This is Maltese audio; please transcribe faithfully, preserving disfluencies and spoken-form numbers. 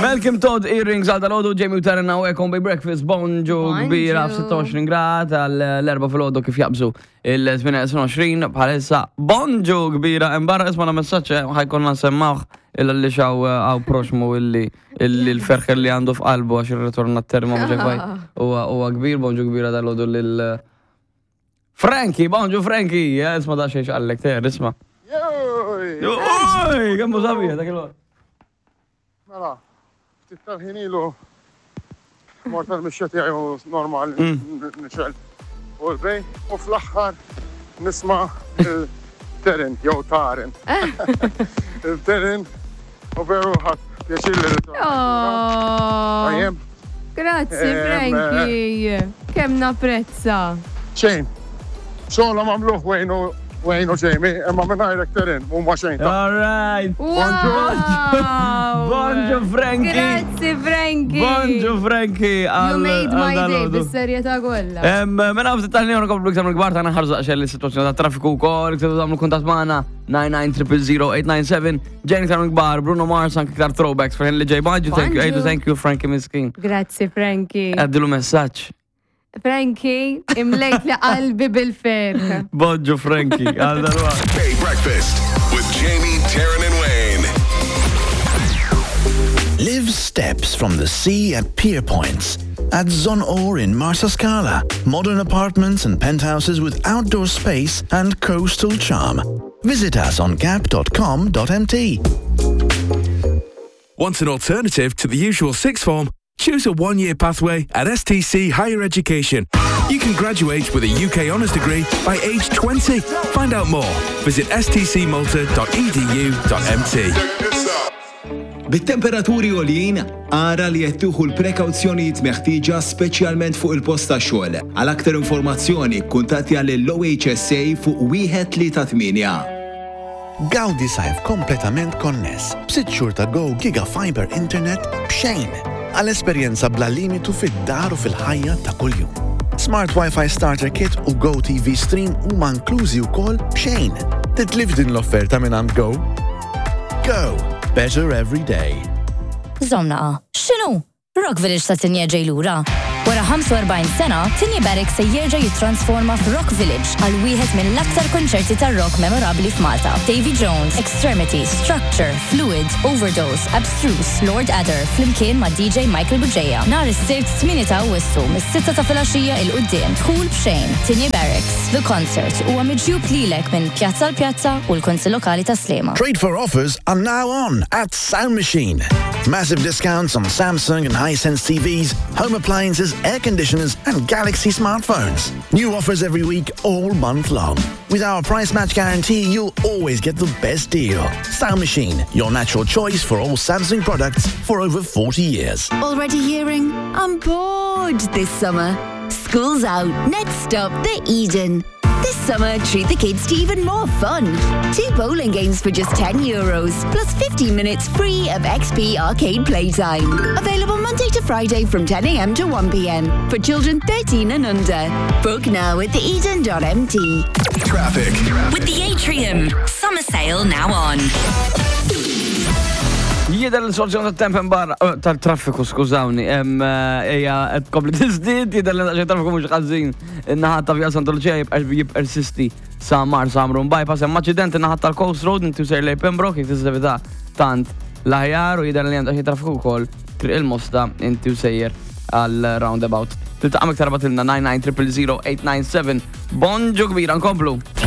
Malcolm Todd Earrings għal dalgħodu. Jamie u Taryn hawnhekk Bay Breakfast. Bonġu kbira. Bonġu. f-sitta u għoxrin grad għall-erbgħa filgħodu kif jaqbżu il-tmienja u għoxrin bħalissa. Bonġu kbira, imbarra isma' messaġġ ħa jkollna nsemmgħuh illa li xaw għaw proxmu illi illi l-ferħ li għandu f'qalbu għax il-ritorn għat-terma mhux faj huwa kbir. Bonġu kbira dalgħodu lil Frankie, bonġu Frankie, isma' da xejn għallek ter, isma'. Joj! Oj, kemm hu sabiħ dak il Mela, ftit tal-ħin ilu mort tal-mixja tiegħi u normal nixgħel u l-bej u fl-aħħar nisma' il-Terin jew Tarin. Il-Terin u veru ħadt pjaċir li ritorn. Oh, Tajjem, grazzi Em, Frankie. Kemm napprezza. Xejn. Xogħla mamluħ Wayne u Wayne u Jamie, imma mingħajrek Terin, huma xejn ta' All right. Wow! Bonġu Frankie. Grazzi Frankie. Bonġu Frankie. You made my day, bis-serjetà kollha. Mela ftit tal-ħin nkomplu iktar mill-kbar ta' naħarżu għaxel is-sitwazzjoni ta' traffiku wkoll, iktar tagħmlu kuntatt magħna nine nine zero zero eight nine seven. Ġejn iktar mill-kbar, Bruno Mars, anke iktar throwbacks fejn li ġej. Bonġu, thank you, Bonġu. thank you Frankie miskin. Grazzi Frankie. Għaddilu messaġġ. Frankie, imlejt li qalbi bil-ferħ. Bonġu Frankie, għal dalwaqt. Bay Breakfast with Jamie, Taryn, and Wayne. Live steps from the sea at Pier Points. At Zonor in Marsascala. Modern apartments and penthouses with outdoor space and coastal charm. Visit us on gap dot com dot M T. Want an alternative to the usual sixth form? Choose a one-year pathway at S T C Higher Education. You can graduate with a U K honours degree by age twenty. Find out more. Visit S T C malta dot E D U dot M T. Bit-temperaturi għoljin, ara li qed tieħu l-prekawzjonijiet meħtieġa, speċjalment fuq il-post ta' xogħol. Għal aktar informazzjoni, kuntattja lill-O H S A fuq wieħed tlieta tmienja. Gawdi sajf kompletament konness b'sitt xhur ta' Go Giga Fiber Internet b'xejn għal esperjenza bla limitu fid-dar u fil-ħajja ta' kuljum. Smart Wi-Fi Starter Kit u Go T V Stream huma inklużi wkoll b'xejn. Titlif din l-offerta minn għand Go. Go! Better every day. Żomm naqa, x'inhu? Rock Village ta' Tigné ġej lura. Wara ħamsa u erbgħin sena, Tigné Barracks se jerġa' jittransforma f'Rock Village għal wieħed mill-aktar konċerti tar-rock memorabbli f'Malta. Davy Jones, Extremity, Structure, Fluid, Overdose, Abstruse, Lord Adder, flimkien ma' D J Michael Bugeja. Nhar is-Sibt tmienja ta' Awwissu, mis-sitta ta' filgħaxija 'l quddiem. Dħul b'xejn. Tigné Barracks. The Concert huwa miġjub lilek minn Pjazza l-Pjazza u l-Kunsill Lokali ta' Sliema. Trade for offers are now on at Sound Machine. Massive discounts on Samsung and Hisense T Vs, home appliances, air conditioners, and Galaxy smartphones. New offers every week, all month long. With our price match guarantee, you'll always get the best deal. Sound Machine, your natural choice for all Samsung products for over forty years. Already hearing? I'm bored this summer. School's out. Next stop, the Eden. This summer, treat the kids to even more fun. Two bowling games for just ten euros, plus fifteen minutes free of X P arcade playtime. Available Monday to Friday from ten a m to one p m for children thirteen and under. Book now at theeden dot M T. Traffic. With the Atrium, summer sale now on. Jidher l-soluzzjoni tat-temp barra, eh, tal-traffiku, skużawni, em, eh, ejja, qed tkompli tiżdied, jidher li daqsxejn traffiku mhux ħażin. In-naħa ta' Via Santa Lucia jibqa' jippersisti sa Marsa Ħamrun Bypass, hemm aċċident in-naħa tal-Coast Road inti sejjer lejn Pembroke, jekk tista' tevita tant l-aħjar, u jidher li hemm daqsxejn traffiku wkoll Triq il-Mosta inti sejjer għal roundabout. Tiltaqa' iktar, ibgħatilna nine nine zero zero eight nine seven. Bonġu kbira, nkomplu.